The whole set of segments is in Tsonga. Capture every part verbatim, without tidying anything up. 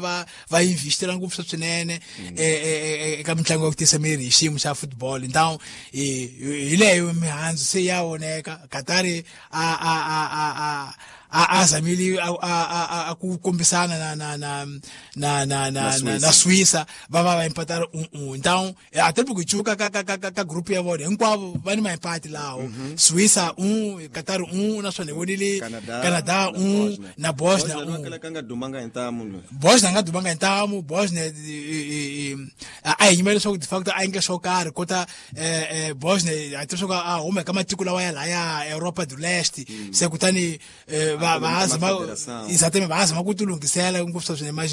va va investira ngopfu swinene eka mitlangu ya ku tisa miri hi xiyimo xa football. Então hi leyo mihandzu se ya voneka. Qatar a a a a a a zamile a a a ku kombisana na na na na na na na Suíça va va va empatar um um. Então até porque chuka ka ka ka ka grupo ya vona hinkwavo va ni maempate lawo. Suíça um, Qatar um, naswona hi vonile Canada um na Bosnia um. Nga dumanga hi ntamu Bosnia nga dumanga hi ntamu. Bosnia a hi yimela leswaku de facto a endla swo karhi kota Bosnia a leswaku a huma eka matiko lawa ya laya Europa do Leste se kutani va va zama exatamente va zama ku tilunghisela ngopfu swinene mas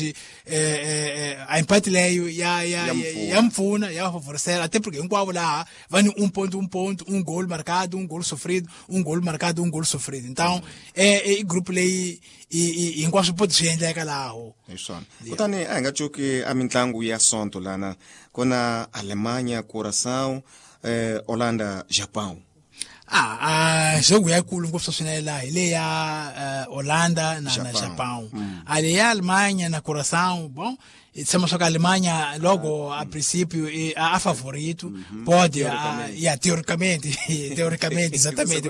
a empate leyo ya ya ya mpfuna ya favorecer até porque hinkwavo laha va ni um ponto um ponto um gol marcado um gol sofrido um gol marcado um gol sofrido. Então é i grupo leyi hinkwaswo poti swi endleka laho hi swona. Kutani a hi nga cuki a mitlangu ya Sonto lana ku na Alemanha, Curaçao, eh, Holanda, Japão. Ah, a jogo yikulu ngopfu swinene laha hi leyi ya Holanda na na Japão. A leyi ya Alemanha na Curaçao, bom, tshama swa ka Alemanha logo a princípio a, a favorito, uhum. Pode a, yeah, teoricamente, teoricamente, exatamente,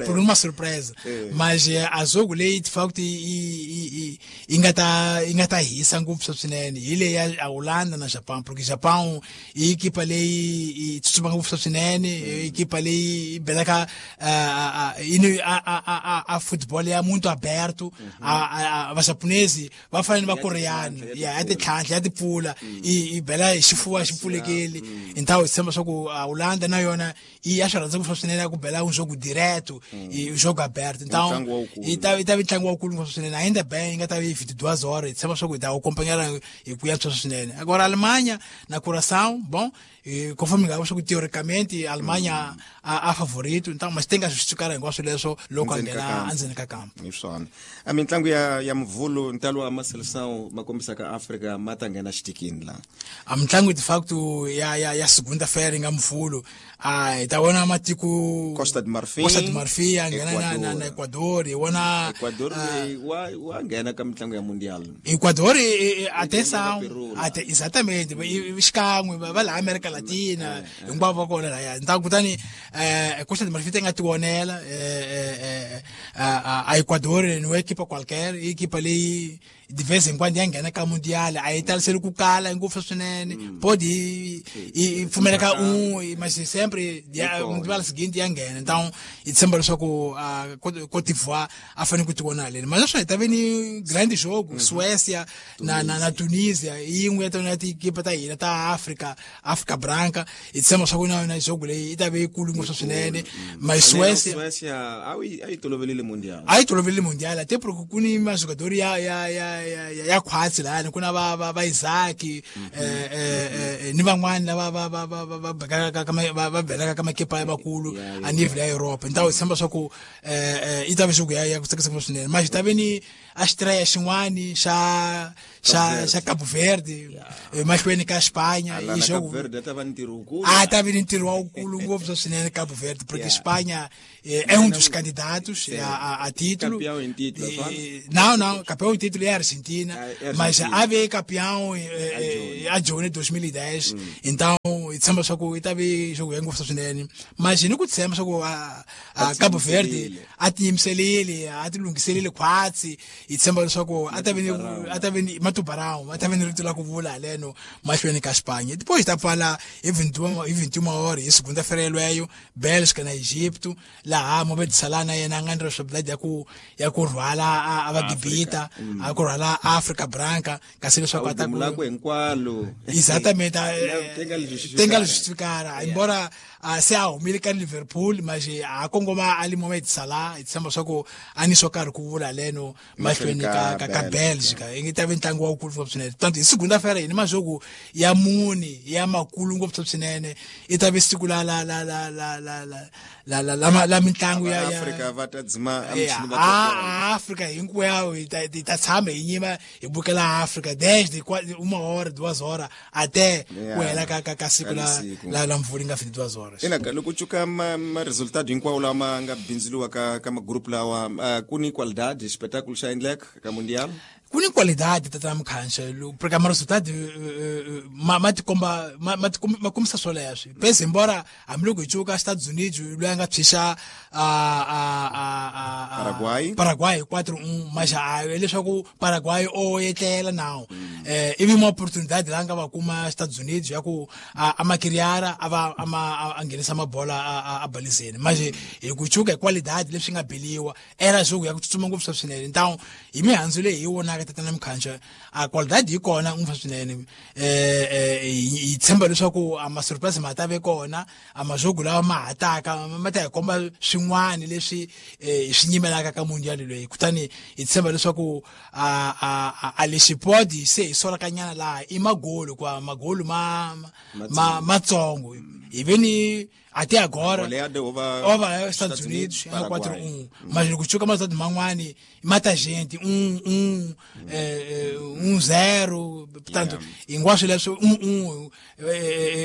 por uma surpresa. É. Mas a jogo leyi de facto i i nga ta i nga ta hisa ngopfu swinene hi leyi ya Holanda na Japão, porque Japão i equipa leyi i tsutsuma ngopfu swinene, equipa leyi i belaka a a a a futebol é muito aberto, a a japonesi va fanele va koreani, yeah, ya titlhantlha ya tipfula i bela hi xifuva xi pfulekile. Então hi tshemba swa ku a Holanda na yona i ya swi rhandza ngopfu swinene ku bela um jogo direto e jogo aberto. Então i ta i ta ntlangu wa kulu ngopfu swinene ainda bem nga ta vi vinte e duas horas, hi tshemba swa ku hi ta acompanhar hi ku yantswa swinene. Agora Alemanha na Curaçao, bom, e conforme nga swa ku teoricamente a Alemanha a, a favorito, então mas tem que justificar hinkwaswo leswo loko a nghena endzeni ka kampo. Hi swona. A mitlangu ya ya Mvhulu ntalo wa maseleção ma kombisaka Afrika ma ta nghena xitikini la. A mitlangu de facto ya ya ya segunda-feira nga Mvhulu a hi ta vona matiko Costa de Marfim, Costa de Marfim ya nghena na na, na Ecuador, hi vona Ecuador wa wa nghena ka mitlangu ya Mundial. Ecuador atenção, até exatamente, xikan'we va la America Latina hinkwavo va kona laya. Então kutani eh Costa de Marfim tem nga tivonela eh a Ecuador não é equipa qualquer, equipa leyi de vez em quando ya nghena ka Mundial, a yi taliseli ku kala ngopfu swinene, pode i pfumeleka um, mas sempre Mundial seguinte ya nghena. Então hi tshemba leswaku Côte d'Ivoire a fanele ku tivona leni. Mas naswona hi ta ve ni grande jogo Suécia na na na Tunisia, yin'we ya tona tiekipa ta hina ta Afrika, Afrika Branca. Hi tshemba swa ku na yona jogo leyi yi ta ve yikulu ngopfu swinene. Mas Suécia Suécia a yi a yi tolovelile Mundial, a yi tolovelile Mundial até porque ku ni majogador ya ya ya ya ya khwatsi lahani ku na va va va Isaac eh eh ni van'wani lava va va va va va ka va belaka ka makepa ya vakulu a nível ya Europa. Então hi tshemba swa ku eh i ta ve jogo ya ya ku tsakisa ngopfu swinene. Mas ta ve ni a estreia xin'wani xa xa xa Cabo Verde mahlweni ka Espanha i jogo Cabo Verde ta va ni ntirho wukulu, a ta ve ni ntirho wa wukulu ngopfu swinene Cabo Verde, porque Espanha é um dos candidatos a, a, a título. Campeão em título, não, não, campeão em título é a Argentina, mas a veio campeão a June dois mil e dez. Então hi tshemba swa ku yi ta ve jogo ya ngopfu swinene. Mas ni ku tshemba swa ku a Cabo Verde a tiyimiselile, a ti lunghiselile khwatsi. Hi tshemba leswaku a ta ve ni a ta ve ni Matubarão, a ta ve ni rito la ku vula haleno mahlweni ka Espanha. Depois ta pfala hi vinte e uma horas hi segunda-feira yeleyo Bélgica na Egipto, laha Mohamed Salah na yena a nga ni responsabilidade ya ku ya ku rhwala a va Gibita, a ku rhwala Afrika Branca, kasi leswaku a ta ku hinkwalo. Exatamente, tem que justificar. Embora se a humile ka Liverpool, mas a kongoma ali Mohamed Salah, hi tshemba swa ku a ni swo karhi ku vula leno mahlweni ka ka ka Bélgica. Yi ta ve ntlangu wa wukulu ngopfu swinene. Tanto hi segunda-feira hi ni majogo ya mune ya makulu ngopfu swinene. I ta ve siku la la la la la la la la la la mitlangu ya Afrika va ta dzima a Afrika hinkwayo hi ta hi ta tshama hi nyima hi bukela Afrika desde uma hora duas horas até ku hela ka ka ka siku la la la mvula nga vinte e duas horas. Ina loko cuka ma, ma resultado hinkwawo lama nga bindzuriwa ka ka magroup lawa, uh, ku ni qualidade espetáculo xa endleka ka Mundial? Ku ni qualidade tata Mukhanxa porque a resultado ma ma tikomba ma ma kombisa swoleswo pese embora hambiloko hi cuka Estados Unidos loyi a nga tshwixa a a a Paraguay Paraguay quatro um mas a leswaku Paraguay o etlela nawo eh ivi uma oportunidade la nga va kuma Estados Unidos ya ku a makiriara a va ama a nghenisa mabola a a balizeni mas hi ku cuka hi qualidade leswi nga beliwa era jogo ya ku tsutsuma ngopfu swinene então hi mihandzu leyi hi wona tatana Mukhanxa a qualidade yi kona ngopfu swinene eh eh hi tshemba leswaku a ma surprise ma ta ve kona a majogo lawa ma hataka ma ta hi komba swin'wana leswi hi swi nyimelaka ka mundial loyi kutani hi tshemba leswaku a a a lexi podi se hi solakanyana laha i magolo kwa magolo ma ma matsongo hi ve ni até agora over Estados Unidos é quatro um mas loko chuka mas man'wani mata gente um um um zero portanto hinkwaswo leswo um um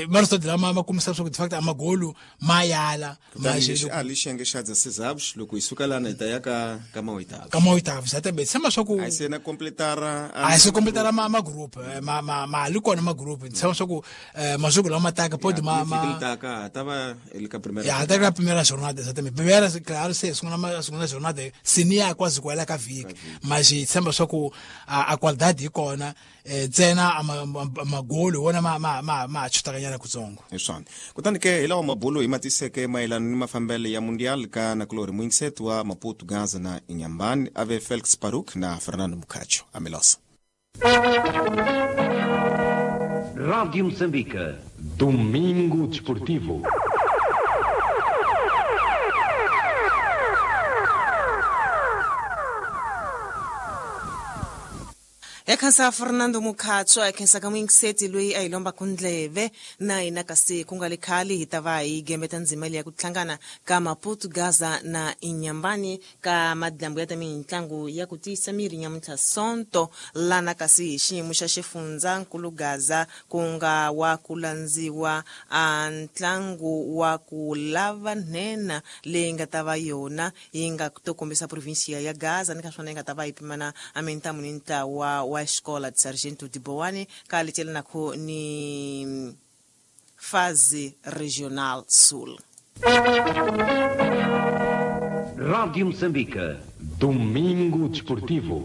mas lama ma kombisa leswaku de facto amagolo ma yala mas a lixenge xa dezesseis avos loko hi suka lana hi ta ya ka ka maoitavos ka maoitavos exatamente tshemba swa ku a se na completar a se completar ma ma group ma ma ma li kona ma group tshemba swa ku majogo lama taka pode ma ma taka tava ele ka primeira ya até a primeira jornada exatamente primeira claro se segunda segunda jornada sinia quase igual ka viki mas tshemba swa ku a qualidade yi kona ntsena magolo wona ma ma ma ma chutakanyana kutsongo hi swona kutani ke hi lawa mabulo hi matiseke mayelana ni mafambelo ya mundial ka nakulori Mwinset wa Maputo Gaza na Inhambane ave Felix Paruk na Fernando Mucacho Amilosa. Rádio Moçambique, Domingo Desportivo. Ekhansa Fernando Mukhatsho ekhensa ka Mwingiseti loyi a hi lomba kundleve na hina kasi ku nga le khale hi ta va hi gembeta ndzima leyi ya ku hlangana ka Maputo Gaza na Inhambane ka madlambu ya ta mintlangu ya ku tiyisa miri nyamuntlha Sonto lana kasi hi xiyimo xa xifundza nkulu Gaza ku nga wa ku landziwa a ntlangu wa ku lava nhenha leyi nga ta va yona yi nga to kombisa provinsia ya Gaza ni ka swona yi nga ta va yi pimana a mintamu ni ntlawa wa Escola de Sargento de Boane ka letela nako ni fase regional sul. Rádio Moçambique, Domingo Desportivo.